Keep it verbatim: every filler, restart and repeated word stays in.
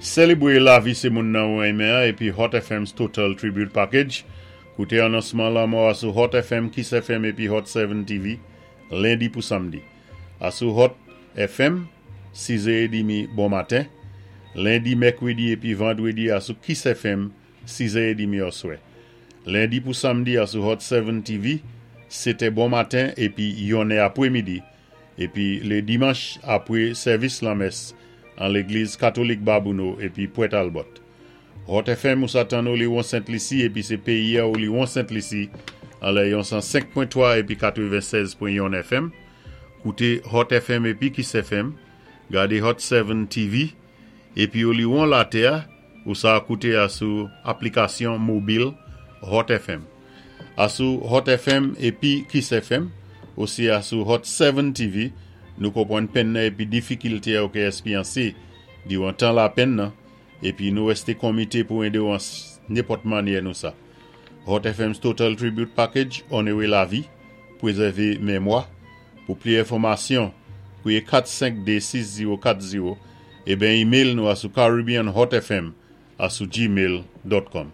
Sélébwé lavi sé moun nan ou renmen épi Hot F M's Total Tribute Package. Kouté anonsman lanmò a sou Hot F M, Kiss F M épi Hot sept T V, lendi pou samdi. A sou Hot F M, sis è trant bon maten. Lendi, mèkwédi épi vandwédi a sou Kiss F M, sis è trant oswè. Lendi pou samdi a sou Hot sept T V, sétè bon maten épi yonnè apwé midi. Épi lé dimanch apwé sèvis lanmès an légliz katolik Babouno épi Pwent Albert. Hot F M ou sa tann Oléron Sent Lisi épi sé péyi Oléron Sent Lisi an lè yon san senk pwen twa épi katwennsèz pwen youn F M. Kouté Hot F M épi Kiss F M, gadé Hot sept T V épi Oléron latè ou sa kouté a sou aplikasyon mobil Hot F M. A sou Hot F M épi Kiss F M, osi a sou Hot sept T V, nou konpwann penn nan épi difikilté ou ké espéryansé diwan tan lapenn nan, épi nou wésté konmité pou édé ou an nenpòt mannyè nou sa. Hot F M's Total Tribute Package, onoré lavi, pwézèvé mémwa. Pou plis enfòmasyon, kwiyé kat senk de sis zewo kat zewo é ben email nou a sou caribbeanhotfm a sou gmail dot com.